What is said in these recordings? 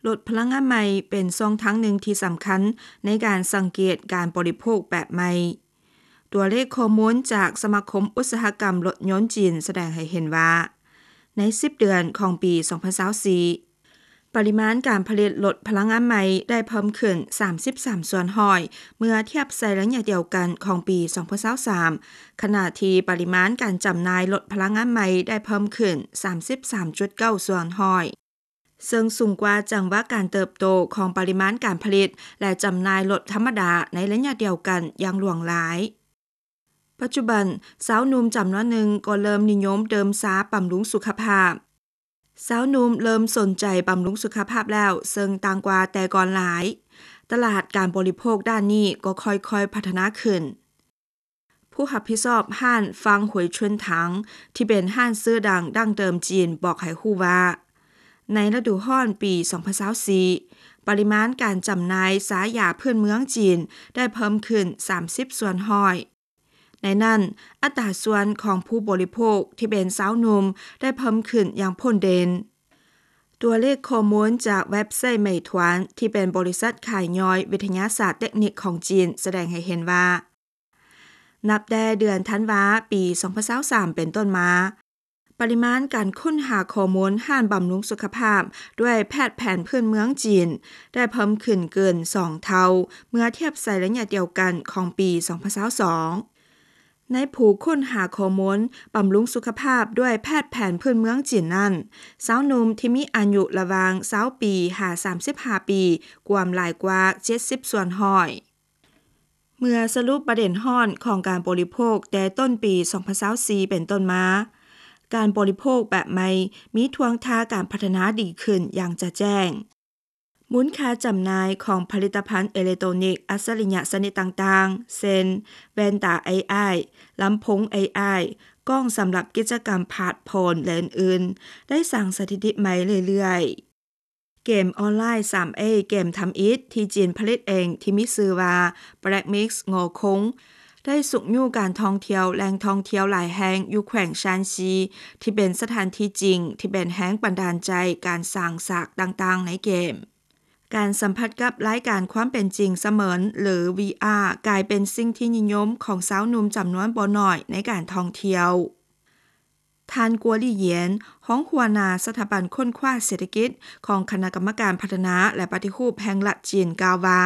ລົດພະລັງງານໃໝ່ເປັນຊ່ອງທາງໜຶ່ງທີ່ສຳຄັນໃນການສັງເກດການບໍລິໂພກແບບໃໝ່. ຕົວເລກຂໍ້ມູນຈາກສະມາຄົມອຸດສາຫະກຳລົດຍົນຈີນສະແດງໃຫ້ເຫັນວ່າ ໃນສິບເດືອນຂອງປີສອງພັນຊາວສີ່ ປະລິມານການຜະລິດລົດພະລັງງານໃໝ່ໄດ້ເພີ່ມຂຶ້ນສາມສິບສາມສ່ວນຮ້ອຍ ເມື່ອທຽບໃສ່ໄລຍະດຽວກັນຂອງປີສອງພັນຊາວສາມ ຂະນະທີ່ປະລິມານການຈຳໜ່າຍລົດພະລັງງານໃໝ່ໄດ້ເພີ່ມຂຶ້ນສາມສິບສາມຈຸດເກົ້າສ່ວນຮ້ອຍ ເຊິ່ງສູງກວ່າຈັງຫວະການເຕີບໂຕຂອງປະລິມານການຜະລິດ ແລະ ຈຳໜ່າຍລົດທຳມະດາໃນໄລຍະດຽວກັນຢ່າງຫຼວງຫຼາຍ. ປັດຈຸບັນ, ຊາວໜຸ່ມຈຳນວນໜຶ່ງກໍເລີ່ມນິຍົມດື່ມຊາບຳລຸງສຸຂະພາບ. ຊາວໜຸ່ມເລີ່ມສົນໃຈບຳລຸງສຸຂະພາບແລ້ວ, ເຊິ່ງຕ່າງກວ່າແຕ່ກ່ອນຫຼາຍ. ຕະຫຼາດການບໍລິໂພກດ້ານນີ້ກໍຄ່ອຍໆພັດທະນາຂຶ້ນ. ຜູ້ຮັບຜິດຊອບຮ້ານ ຟາງ ຫວຍ ເຊີນ ຖັງ ທີ່ເປັນຮ້ານຊື່ດັງດັ້ງເດີມຈີນ ບອກໃຫ້ຮູ້ວ່າ ໃນລະດູຮ້ອນປີສອງພັນຊາວສີ່ ປະລິມານການຈຳໜ່າຍຊາຢາພື້ນເມືອງຈີນໄດ້ເພີ່ມຂຶ້ນສາມສິບສ່ວນຮ້ອຍ. ໃນນັ້ນ, ອັດຕາສ່ວນຂອງຜູ້ບໍລິໂພກທີ່ເປັນຊາວໜຸ່ມໄດ້ເພີ່ມຂຶ້ນຢ່າງໂພດເດັ່ນ. ຕົວເລກຂໍ້ມູນຈາກເວັບໄຊໄໝທວນ ທີ່ເປັນບໍລິສັດຂາຍຍ່ອຍວິທະຍາສາດເຕັກນິກຂອງຈີນ ສະແດງໃຫ້ເຫັນວ່າ ນັບແຕ່ເດືອນທັນວາປີສອງພັນຊາວສາມເປັນຕົ້ນມາ, ປະລິມານການຄົ້ນຫາຂໍ້ມູນຮ້ານບຳລຸງສຸຂະພາບດ້ວຍແພດແຜນພື້ນເມືອງຈີນ ໄດ້ເພີ່ມຂຶ້ນເກີນສອງເທົ່າ ເມື່ອທຽບໃສ່ໄລຍະດຽວກັນຂອງປີສອງພັນຊາວສອງ. ໃນຜູ້ຄົ້ນຫາຂໍ້ມູນບຳລຸງສຸຂະພາບດ້ວຍແພດແຜນພື້ນເມືອງຈີນນັ້ນ, ຊາວໜຸ່ມທີ່ມີອາຍຸລະຫວ່າງຊາວປີຫາສາມສິບຫ້າປີ ກວມຫຼາຍກວ່າເຈັດສິບສ່ວນຮ້ອຍ. ເມື່ອສະຫຼຸບປະເດັນຮ້ອນຂອງການບໍລິໂພກແຕ່ຕົ້ນປີສອງພັນຊາວສີ່ເປັນຕົ້ນມາ, ການບໍລິໂພກແບບໃໝ່ມີທ່ວງທ່າການພັດທະນາດີຂຶ້ນຢ່າງຈະແຈ້ງ. ມູນຄ່າຈຳໜ່າຍຂອງຜະລິດຕະພັນເອເລັກໂຕຣນິກອັດສະລິຍະຊະນິດຕ່າງໆ ເຊັ່ນ ແວ່ນຕາ ເອໄອ, ລຳໂພງ ເອໄອ, ກ້ອງສຳລັບກິດຈະກຳພາດໂພນ ແລະ ອື່ນໆ ໄດ້ສ້າງສະຖິຕິໃໝ່ເລື້ອຍໆ. ເກມອອນລາຍ ສາມເອ ເກມທຳອິດທີ່ຈີນຜະລິດເອງ ທີ່ມີຊື່ວ່າ Black Myth: Ngo Khong ໄດ້ຊຸກຍູ້ການທ່ອງທ່ຽວແຫຼ່ງທ່ອງທ່ຽວຫຼາຍແຫ່ງຢູ່ແຂວງຊານຊີ ທີ່ເປັນສະຖານທີ່ຈິງທີ່ເປັນແຮງບັນດານໃຈການສ້າງສາກຕ່າງໆໃນເກມ. ການສຳຜັດກັບລາຍການຄວາມເປັນຈິງສະເໝືອນ ຫຼື ວີອາ ກາຍເປັນສິ່ງທີ່ນິຍົມຂອງຊາວໜຸ່ມຈຳນວນບໍ່ໜ້ອຍໃນການທ່ອງທ່ຽວ. ທ່ານ ກົວ ຫຼີ ຢຽນ ຮອງຫົວໜ້າສະຖາບັນຄົ້ນຄວ້າເສດຖະກິດຂອງຄະນະກຳມະການພັດທະນາ ແລະ ປະຕິຮູບແຫ່ງລັດຈີນ ກ່າວວ່າ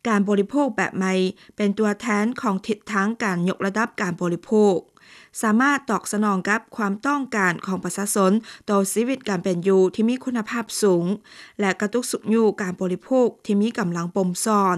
ການບໍລິໂພກແບບໃໝ່ເປັນຕົວແທນຂອງທິດທາງການຍົກລະດັບການບໍລິໂພກ, ສາມາດຕອບສະໜອງກັບຄວາມຕ້ອງການຂອງປະຊາຊົນຕໍ່ຊີວິດການເປັນຢູ່ທີ່ມີຄຸນນະພາບສູງ ແລະ ກະຕຸກຊຸກຍູ້ການບໍລິໂພກທີ່ມີກຳລັງປົ່ມຊ້ອນ.